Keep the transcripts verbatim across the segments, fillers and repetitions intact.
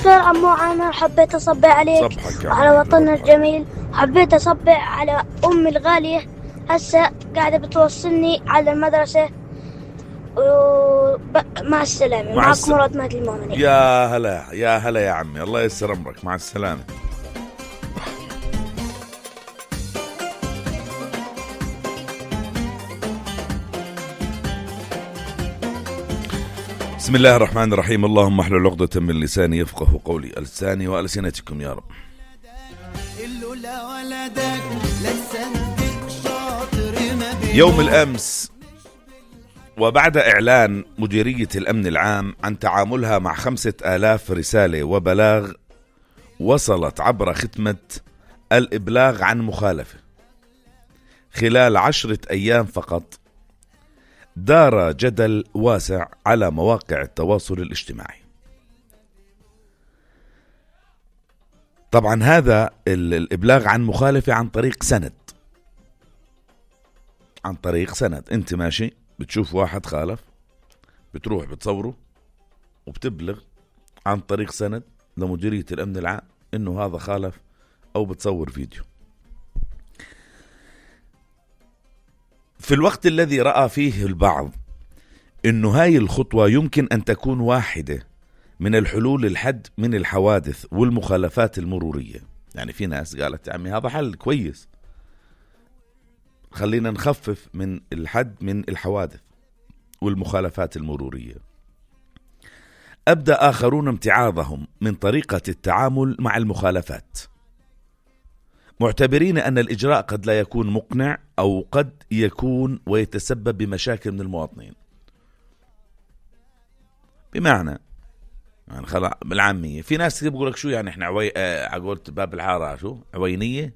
دكتور عمو عامر، حبيت أصبح عليك وعلى وطننا الجميل. حبيت أصبح على أمي الغالية، هسه قاعدة بتوصلني على المدرسة. ومع السلامة. مع معك الس... مراد مهدي المؤمنين. يا هلا يا هلا يا عمي، الله يسر أمرك. مع السلامة. بسم الله الرحمن الرحيم. اللهم احلل عقدة من لساني يفقه قولي، ألساني وألسنتكم يا رب. يوم الأمس وبعد إعلان مديرية الأمن العام عن تعاملها مع خمسة آلاف رسالة وبلاغ وصلت عبر ختمة الإبلاغ عن مخالفة خلال عشرة أيام فقط، دار جدل واسع على مواقع التواصل الاجتماعي. طبعا هذا الإبلاغ عن مخالفة عن طريق سند، عن طريق سند. انت ماشي بتشوف واحد خالف، بتروح بتصوره وبتبلغ عن طريق سند لمديرية الأمن العام انه هذا خالف، او بتصور فيديو. في الوقت الذي رأى فيه البعض انه هاي الخطوة يمكن ان تكون واحدة من الحلول الحد من الحوادث والمخالفات المرورية، يعني في ناس قالت يا عمي هذا حل كويس، خلينا نخفف من الحد من الحوادث والمخالفات المرورية. أبدأ آخرون امتعاضهم من طريقة التعامل مع المخالفات، معتبرين أن الإجراء قد لا يكون مقنع أو قد يكون ويتسبب بمشاكل من المواطنين. بمعنى يعني خلاص بالعامية في ناس بيقول لك شو يعني احنا عوي اه عقولت باب الحارة شو عوينية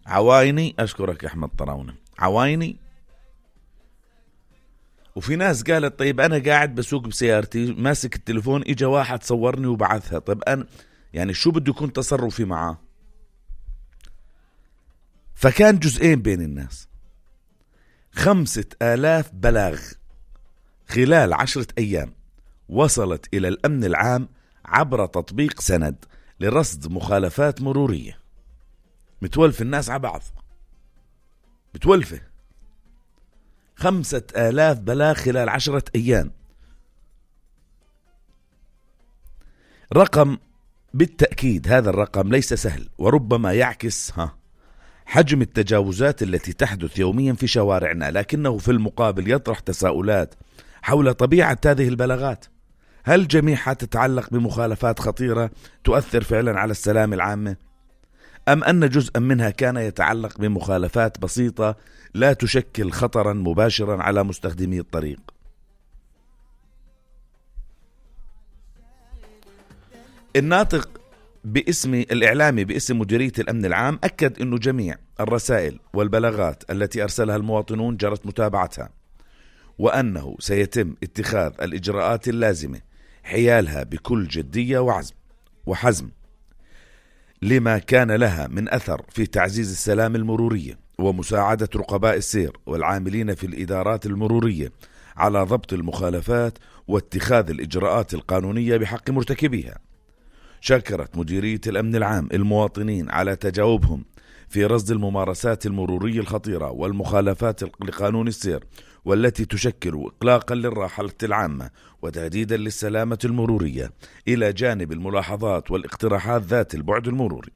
عوايني. أشكرك يا أحمد طراونة، عوايني. وفي ناس قالت طيب أنا قاعد بسوق بسيارتي ماسك التليفون، إجا واحد صورني وبعثها، طيب أنا يعني شو بده يكون تصرفي معاه؟ فكان جزئين بين الناس. خمسة آلاف بلاغ خلال عشرة أيام وصلت إلى الأمن العام عبر تطبيق سند لرصد مخالفات مرورية. متولف الناس على بعض، متولفة. خمسة آلاف بلاغ خلال عشرة أيام، رقم بالتأكيد هذا الرقم ليس سهل، وربما يعكس ها حجم التجاوزات التي تحدث يوميا في شوارعنا، لكنه في المقابل يطرح تساؤلات حول طبيعة هذه البلاغات. هل جميعها تتعلق بمخالفات خطيرة تؤثر فعلا على السلامة العامة، أم أن جزءا منها كان يتعلق بمخالفات بسيطة لا تشكل خطرا مباشرا على مستخدمي الطريق؟ الناطق باسم الإعلامي باسم مديرية الأمن العام أكد أنه جميع الرسائل والبلاغات التي أرسلها المواطنون جرت متابعتها، وأنه سيتم اتخاذ الإجراءات اللازمة حيالها بكل جدية وعزم وحزم لما كان لها من أثر في تعزيز السلام المرورية ومساعدة رقباء السير والعاملين في الإدارات المرورية على ضبط المخالفات واتخاذ الإجراءات القانونية بحق مرتكبيها. شكرت مديرية الأمن العام المواطنين على تجاوبهم في رصد الممارسات المرورية الخطيرة والمخالفات لقانون السير، والتي تشكل إقلاقا للراحة العامة وتهديدا للسلامة المرورية، إلى جانب الملاحظات والاقتراحات ذات البعد المروري.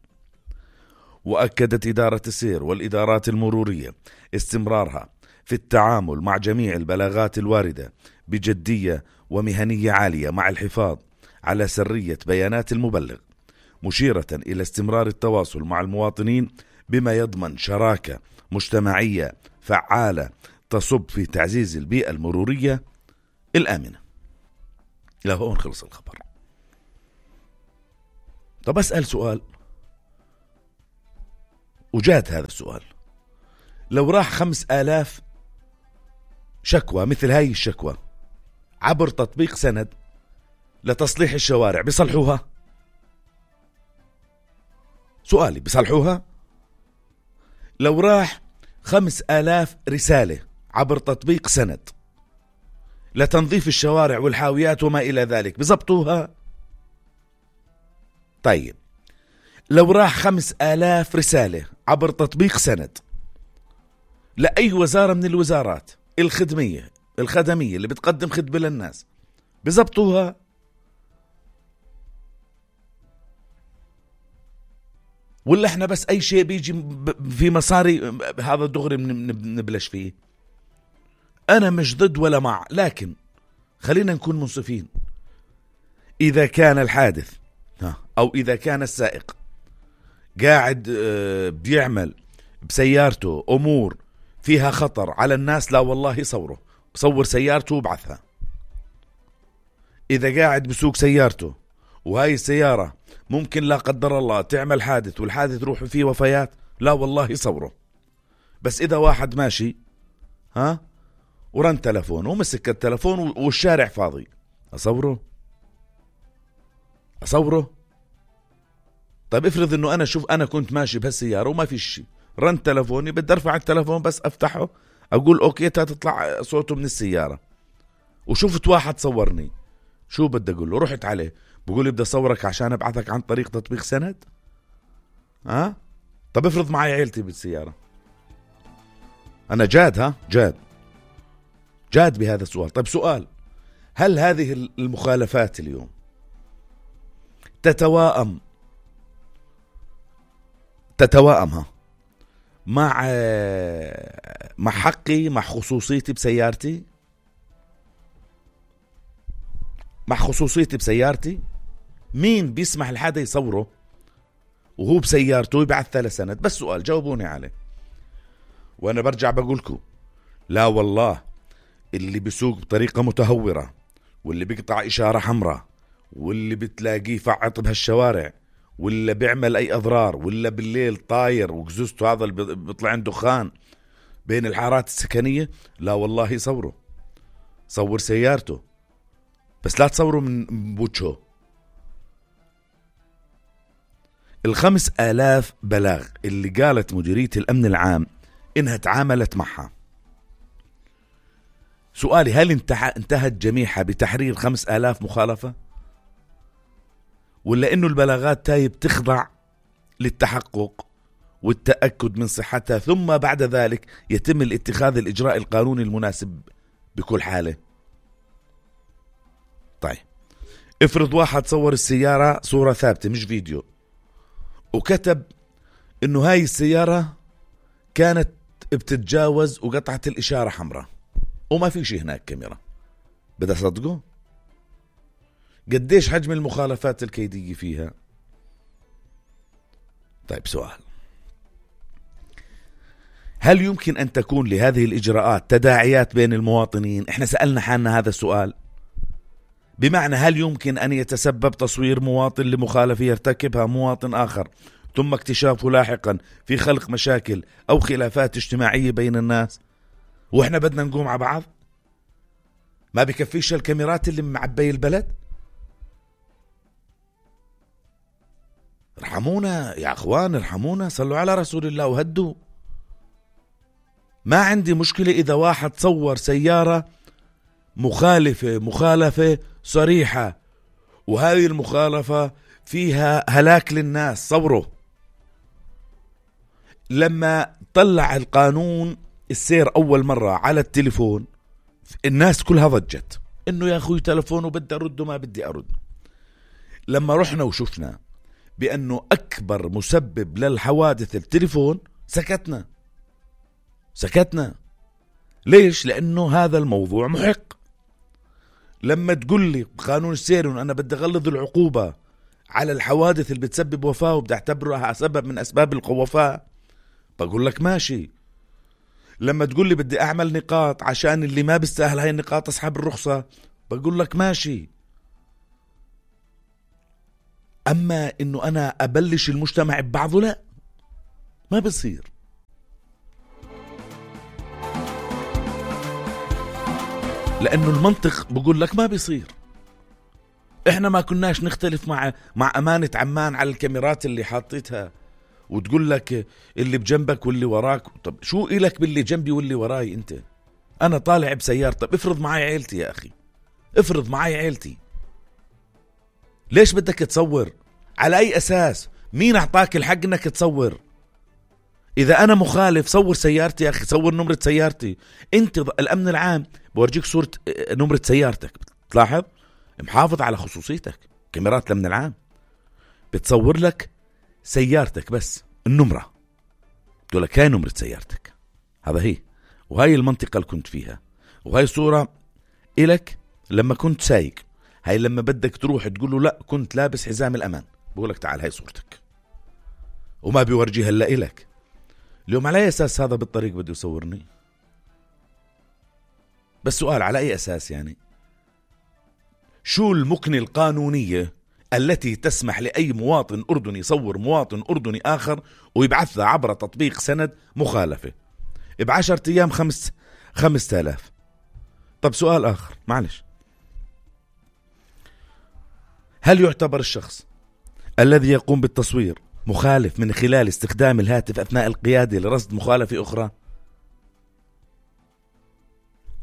وأكدت إدارة السير والإدارات المرورية استمرارها في التعامل مع جميع البلاغات الواردة بجدية ومهنية عالية، مع الحفاظ على سرية بيانات المبلغ، مشيرة إلى استمرار التواصل مع المواطنين بما يضمن شراكة مجتمعية فعالة تصب في تعزيز البيئة المرورية الآمنة. لا هون خلص الخبر. طب أسأل سؤال، وجاد هذا السؤال، لو راح خمس آلاف شكوى مثل هاي الشكوى عبر تطبيق سند لتصليح الشوارع، بيصلحوها؟ سؤالي، بيصلحوها؟ لو راح خمس آلاف رسالة عبر تطبيق سند لتنظيف الشوارع والحاويات وما إلى ذلك، بزبطوها؟ طيب لو راح خمس آلاف رسالة عبر تطبيق سند لأي وزارة من الوزارات الخدمية الخدمية اللي بتقدم خدمة للناس، بزبطوها؟ ولا احنا بس اي شيء بيجي في مصاري هذا دغري نبلش فيه؟ انا مش ضد ولا مع، لكن خلينا نكون منصفين. اذا كان الحادث او اذا كان السائق قاعد بيعمل بسيارته امور فيها خطر على الناس، لا والله صوره، صور سيارته وابعثها. اذا قاعد بسوق سيارته وهاي السيارة ممكن لا قدر الله تعمل حادث والحادث روح فيه وفيات، لا والله صوره. بس اذا واحد ماشي ها ورن تلفون ومسك التلفون والشارع فاضي، اصوره اصوره طيب افرض انه انا شوف انا كنت ماشي بهالسيارة وما في شيء، رن تلفوني بدي ارفع التلفون بس افتحه اقول اوكي تطلع صوته من السيارة، وشفت واحد صورني، شو بدي اقول له؟ رحت عليه بقول لي بدي اصورك عشان ابعثك عن طريق تطبيق سند؟ ها أه؟ طب افرض معي عيلتي بالسيارة، انا جاد ها جاد جاد بهذا السؤال. طيب سؤال، هل هذه المخالفات اليوم تتواءم تتواءمها مع مع حقي مع خصوصيتي بسيارتي مع خصوصيتي بسيارتي؟ مين بيسمح لحدا يصوره وهو بسيارته ويبعثها لسند؟ بس سؤال جاوبوني عليه. وانا برجع بقولكم لا والله اللي بيسوق بطريقة متهورة واللي بيقطع إشارة حمراء واللي بتلاقيه فعط بهالشوارع ولا بيعمل أي أضرار ولا بالليل طاير وجزوزته هذا اللي بيطلع عنده دخان بين الحارات السكنية، لا والله صوره، صور سيارته بس لا تصوره من بوجهه. الخمس آلاف بلاغ اللي قالت مديرية الأمن العام إنها تعاملت معها، سؤالي هل انتهت جميعها بتحرير خمس آلاف مخالفة؟ ولا إنه البلاغات تاي بتخضع للتحقق والتأكد من صحتها ثم بعد ذلك يتم الاتخاذ الإجراء القانوني المناسب بكل حالة؟ طيب افرض واحد صور السيارة صورة ثابتة مش فيديو وكتب إنه هاي السيارة كانت بتتجاوز وقطعت الإشارة حمراء وما في شيء هناك كاميرا، بدي أصدقه؟ قديش حجم المخالفات الكيدية فيها؟ طيب سؤال، هل يمكن أن تكون لهذه الإجراءات تداعيات بين المواطنين؟ إحنا سألنا حالنا هذا السؤال، بمعنى هل يمكن أن يتسبب تصوير مواطن لمخالفة يرتكبها مواطن آخر ثم اكتشافه لاحقا في خلق مشاكل أو خلافات اجتماعية بين الناس وإحنا بدنا نقوم على بعض؟ ما بكفيش الكاميرات اللي معبي البلد؟ ارحمونا يا أخوان، ارحمونا، صلوا على رسول الله وهدوا. ما عندي مشكلة إذا واحد صور سيارة مخالفة مخالفة صريحة وهذه المخالفة فيها هلاك للناس، صوره. لما طلع القانون السير أول مرة على التليفون الناس كلها ضجت إنه يا أخوي تلفونه بدي أرد وما بدي أرد. لما رحنا وشفنا بأنه أكبر مسبب للحوادث التليفون سكتنا سكتنا ليش؟ لأنه هذا الموضوع محق. لما تقول لي قانون السير أنا بدي أغلظ العقوبة على الحوادث اللي بتسبب وفاة وبدي أعتبرها سبب من أسباب الوفاة، بقول لك ماشي. لما تقول لي بدي أعمل نقاط عشان اللي ما بيستاهل هاي النقاط أصحاب الرخصة، بقول لك ماشي. أما إنه أنا أبلش المجتمع ببعضه، لا، ما بصير. لأنه المنطق بقول لك ما بيصير. إحنا ما كناش نختلف مع مع أمانة عمان على الكاميرات اللي حاطتها وتقول لك اللي بجنبك واللي وراك. طب شو إلك باللي جنبي واللي وراي أنت؟ أنا طالع بسيارة، طب افرض معي عيلتي يا أخي، افرض معي عيلتي، ليش بدك تصور؟ على أي أساس؟ مين أعطاك الحق إنك تصور؟ إذا أنا مخالف صور سيارتي يا أخي، صور نمرة سيارتي. أنت الأمن العام بورجيك صورة نمرة سيارتك، بتلاحظ محافظ على خصوصيتك. كاميرات الأمن العام بتصور لك سيارتك بس النمرة، تقول لك هاي نمرة سيارتك، هذا هي، وهاي المنطقة اللي كنت فيها، وهاي صورة إلك لما كنت سايق، هاي لما بدك تروح تقول له لا كنت لابس حزام الأمان، بقول لك تعال هاي صورتك، وما بيورجيها إلا إلك. اليوم على أي أساس هذا بالطريق بده يصورني؟ بس سؤال، على أي أساس يعني؟ شو المكنة القانونية التي تسمح لأي مواطن أردني يصور مواطن أردني آخر ويبعثها عبر تطبيق سند مخالفة بعشرة أيام خمس خمسة آلاف؟ طب سؤال آخر معلش، هل يعتبر الشخص الذي يقوم بالتصوير مخالف من خلال استخدام الهاتف أثناء القيادة لرصد مخالفة أخرى؟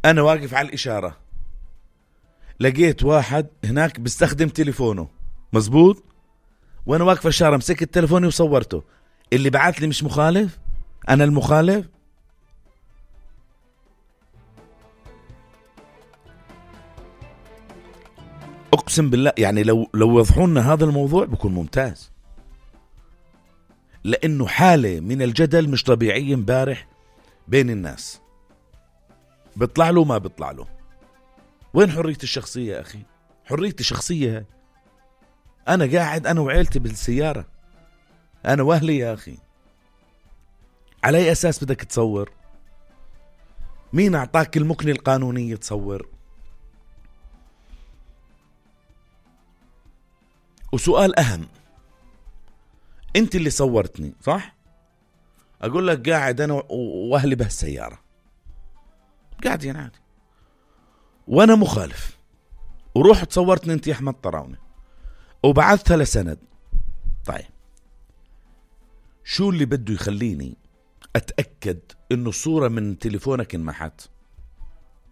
أنا واقف على الإشارة لقيت واحد هناك بيستخدم تليفونه، مزبوط، وأنا واقف على الإشارة مسكت تليفوني وصورته، اللي بعث لي مش مخالف؟ أنا المخالف؟ أقسم بالله يعني لو لو وضحوا لنا هذا الموضوع بيكون ممتاز، لأنه حالة من الجدل مش طبيعية امبارح بين الناس، بيطلع له ما بيطلع له. وين حرية الشخصية يا أخي؟ حرية الشخصية، أنا قاعد أنا وعيلتي بالسيارة، أنا وأهلي يا أخي، على أي أساس بدك تصور؟ مين أعطاك المكنة القانونية تصور؟ وسؤال أهم، أنت اللي صورتني صح؟ أقول لك قاعد أنا وأهلي بهالسيارة قاعدين عادي وأنا مخالف، وروح تصورتني أنت يا أحمد طراونة وبعثتها لسند. طيب شو اللي بده يخليني أتأكد إنه الصورة من تليفونك انمحت؟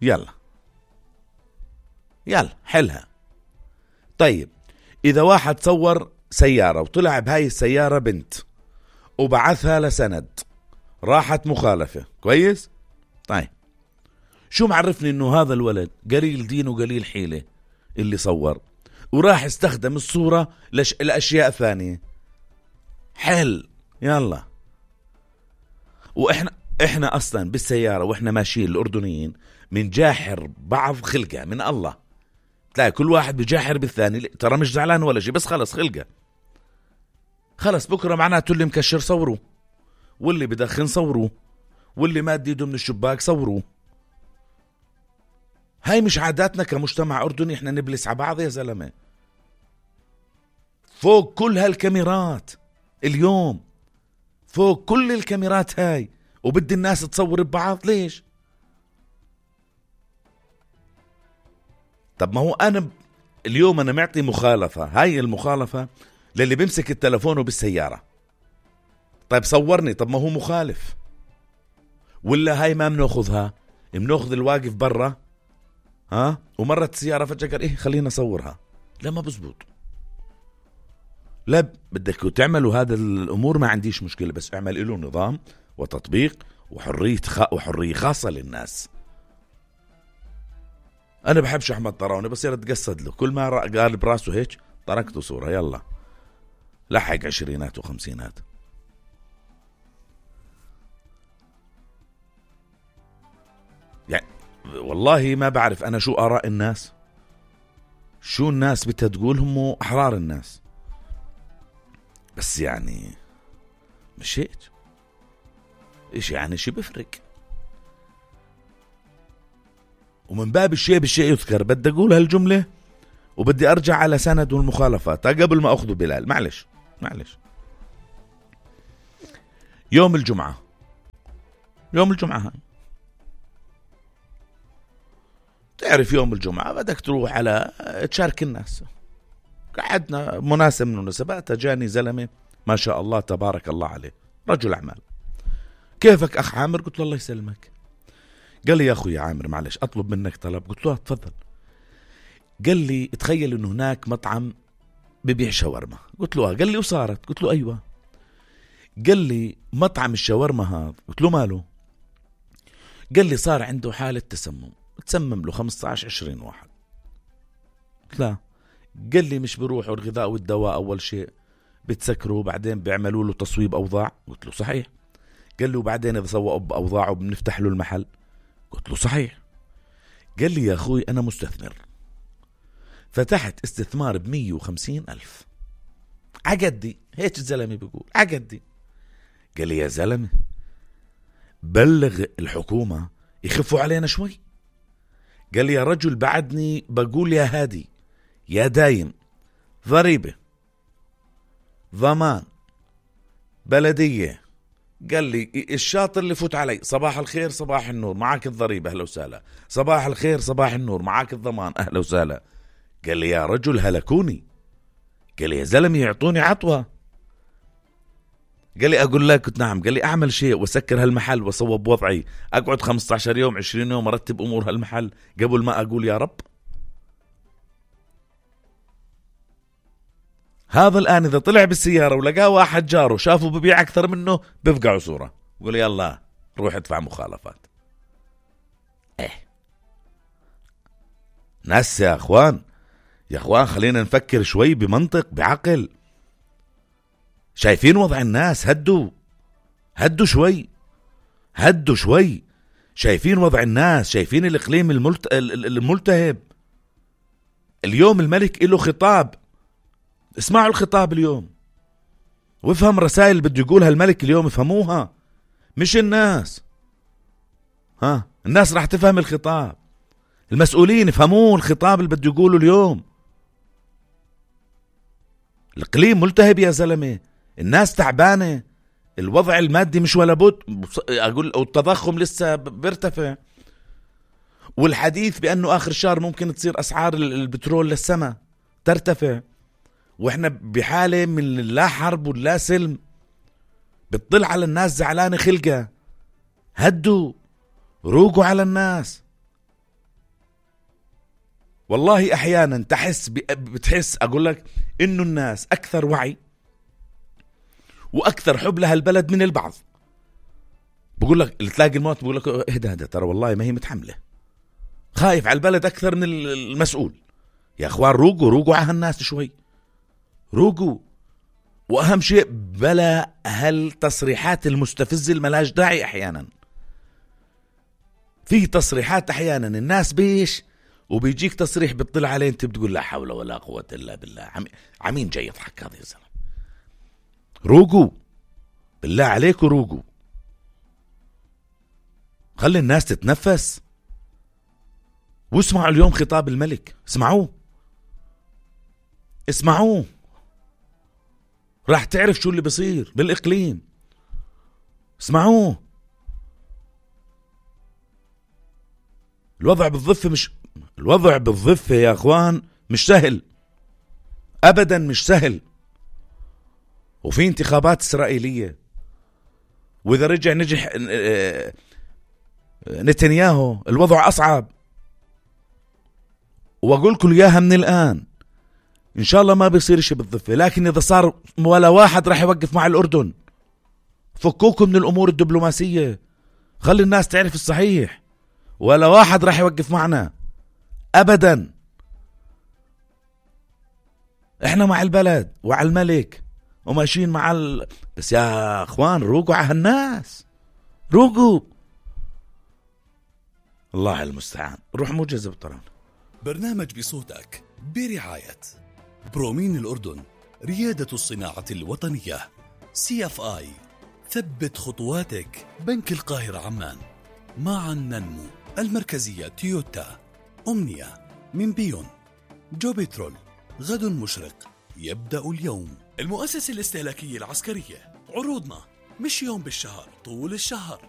يلا يلا حلها. طيب إذا واحد صور سيارة وطلع بهاي السيارة بنت وبعثها لسند راحت مخالفة، كويس؟ طيب شو معرفني إنه هذا الولد قليل دين وقليل حيلة اللي صور وراح استخدم الصورة لش... لأشياء ثانية؟ حل يلا. وإحنا إحنا أصلا بالسيارة وإحنا ماشيين الأردنيين من جاحر بعض خلقة من الله، تلاقي كل واحد بجاحر بالثاني، ترى مش زعلان ولا شيء، بس خلص خلقة، خلص بكرة معناته اللي مكشر صوروه، واللي بدخن صوروه، واللي ماد يده من الشباك صوروه. هاي مش عاداتنا كمجتمع أردني، احنا نبلس على بعض يا زلمة. فوق كل هالكاميرات اليوم، فوق كل الكاميرات هاي، وبدي الناس تصور ببعض، ليش؟ طب ما هو أنا اليوم أنا معطي مخالفة، هاي المخالفة للي بيمسك التلفون بالسيارة. طيب صورني، طب ما هو مخالف. ولا هاي ما مناخذها، مناخذ الواقف برا ها ومرت السيارة فجأة قال إيه خلينا نصورها، لا ما بزبط. لا بدك تعملوا هذا الأمور ما عنديش مشكلة، بس اعمل له نظام وتطبيق وحرية خ... وحرية خاصة للناس. أنا بحبش أحمد طراونة، بس يلا تقصد له كل ما قال براسه هيك تركته صورة، يلا لحق عشرينات وخمسينات. يعني والله ما بعرف أنا شو آراء الناس، شو الناس بدها تقول، هم أحرار الناس، بس يعني مش هيك إيش يعني شي بفرق. ومن باب الشيء بالشيء يذكر، بدي أقول هالجملة وبدي أرجع على سند والمخالفات قبل ما أخذ بلال. معلش معلش يوم الجمعة، يوم الجمعة هاي تعرف يوم الجمعة بدك تروح على تشارك الناس. قعدنا مناسب من المناسبات، جاني زلمة ما شاء الله تبارك الله عليه رجل أعمال، كيفك أخ عامر؟ قلت له الله يسلمك. قال لي يا أخوي عامر معلش أطلب منك طلب. قلت له تفضل. قال لي تخيل إنه هناك مطعم ببيع شاورما. قلت له آه. قال لي وصارت؟ قلت له أيوة. قال لي مطعم الشاورما هذا. قلت له ماله؟ قال لي صار عنده حالة تسمم، تسمم له خمسة عشر عشرين واحد. قلت لا. قال لي مش بيروحوا الغذاء والدواء أول شيء بتسكروا بعدين بيعملوا له تصويب أوضاع. قلت له صحيح. قال لي وبعدين إذا سووا بأوضاعه بنفتح له المحل. قلت له صحيح. قال لي يا أخوي أنا مستثمر، فتحت استثمار بمية وخمسين ألف عقدي. هيك الزلمة بيقول عقدي. قال لي يا زلمة بلغ الحكومة يخفوا علينا شوي. قال لي يا رجل بعدني بقول يا هادي يا دايم ضريبة ضمان بلدية. قال لي الشاطر اللي فوت علي صباح الخير صباح النور معاك الضريبة أهلا وسهلا، صباح الخير صباح النور معاك الضمان أهلا وسهلا. قال لي يا رجل هلكوني. قال لي يا زلمة يعطوني عطوة. قال لي أقول لك قلت نعم. قال لي أعمل شيء وسكر هالمحل وصوب وضعي، أقعد خمسة عشر يوم عشرين يوم أرتب أمور هالمحل قبل ما أقول يا رب. هذا الآن إذا طلع بالسيارة ولقاه واحد جاره شافه ببيع أكثر منه بفقعوا صورة يقول يلا روح ادفع مخالفات. إيه ناس يا أخوان، يا أخوان خلينا نفكر شوي بمنطق بعقل. شايفين وضع الناس؟ هدوا هدوا شوي هدوا شوي. شايفين وضع الناس؟ شايفين الإقليم الملت... الملتهب. اليوم الملك له خطاب، اسمعوا الخطاب اليوم وافهم رسائل اللي بده يقولها الملك اليوم، افهموها مش الناس. ها الناس راح تفهم الخطاب، المسؤولين يفهمون الخطاب اللي بده يقوله اليوم. الإقليم ملتهب يا زلمة، الناس تعبانة، الوضع المادي مش ولا بد. أقول التضخم لسه بيرتفع، والحديث بأنه آخر الشهر ممكن تصير أسعار البترول للسماء ترتفع، وإحنا بحالة من لا حرب ولا سلم. بتطل على الناس زعلانة خلقة. هدوا روقوا على الناس. والله أحيانا تحس بتحس أقول لك إنه الناس أكثر وعي وأكثر حب لها البلد من البعض. بقول لك اللي تلاقي الموت بقول لك اهدى هذا ترى والله ما هي متحملة، خايف على البلد أكثر من المسؤول. يا أخوان روقوا روقوا على هالناس شوي، روقوا. وأهم شيء بلا هالتصريحات المستفزة الملاش داعي. أحيانا في تصريحات أحيانا الناس بيش وبيجيك تصريح بتطلع عليه انت بتقول لا حول ولا قوة إلا بالله. عم... عمين جاي يضحك هذا يا زلمة. روقوا بالله عليكم روقوا، خلي الناس تتنفس واسمعوا اليوم خطاب الملك. اسمعوه اسمعوه راح تعرف شو اللي بيصير بالإقليم. اسمعوه. الوضع بالضفة مش الوضع بالضفة يا أخوان مش سهل أبدا، مش سهل. وفي انتخابات إسرائيلية، وإذا رجع نجح نتنياهو الوضع أصعب. وأقول لكم إياها من الآن إن شاء الله ما بيصير شيء بالضفة، لكن إذا صار ولا واحد راح يوقف مع الأردن. فكوكم من الأمور الدبلوماسية، خلي الناس تعرف الصحيح. ولا واحد راح يوقف معنا أبدا. إحنا مع البلد وعلى الملك وماشيين مع ال... بس يا أخوان روقوا على الناس، روقوا. الله المستعان. روح موجز بطران. برنامج بصوتك برعاية برومين الأردن، ريادة الصناعة الوطنية. سي اف آي، ثبت خطواتك. بنك القاهرة عمان، معا ننمو. المركزية تويوتا. أمنية من بيون. جو بترول، غد مشرق يبدأ اليوم. المؤسسة الاستهلاكية العسكرية، عروضنا مش يوم بالشهر طول الشهر.